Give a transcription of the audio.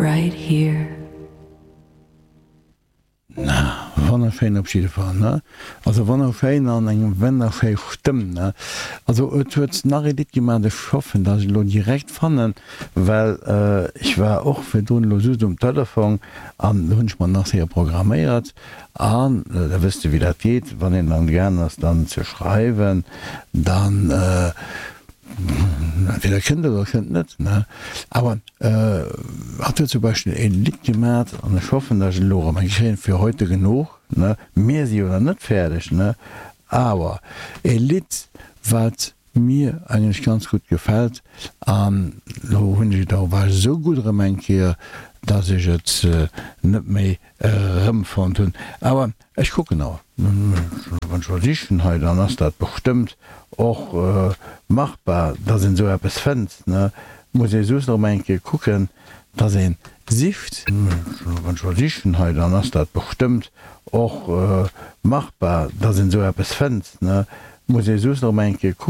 Right here. Na, wonnerschéin op jidde Fall, ne? Also wonnerschéin an eng wennerschéi Stëmm, ne? Also et huet nach ee Lidd gemaach, ech hoffen dass ech elo direkt fannen, well ech war och virdrun elo just um Telefong an do hunn ech mer nach séier programméiert an da wësst de wéi dat geet, wann een dann gaang ass dann ze schreiwen, dann entweder kënnt et oder kënnt net, ne? Awer Hatt huet zum Beispill e Lidd gemat, an ech hoffen, datt ech et elo erëm eng kréien, Für heute genug, ne? Mir si jo nach net fäerdeg, ne? Awer e Lidd, wat mir eigentlech ganz gutt gefält, an elo hunn ech et och, war ech esou gutt erëm eng Kéier, datt ech et net méi erëmfonnt hunn. Awer Ech kucken awer. Wann ech mol sichen hei, dann ass dat bestëmmt och machbar, dass een esou eppes fënnt, ne? Muss ee just erëm eng Kéier kucken, dass een sicht. Wann ech mol sichen hei, dann ass dat bestëmmt och machbar, dass een esou eppes fënnt, ne? Muss ee just erëm eng Kéier kucken.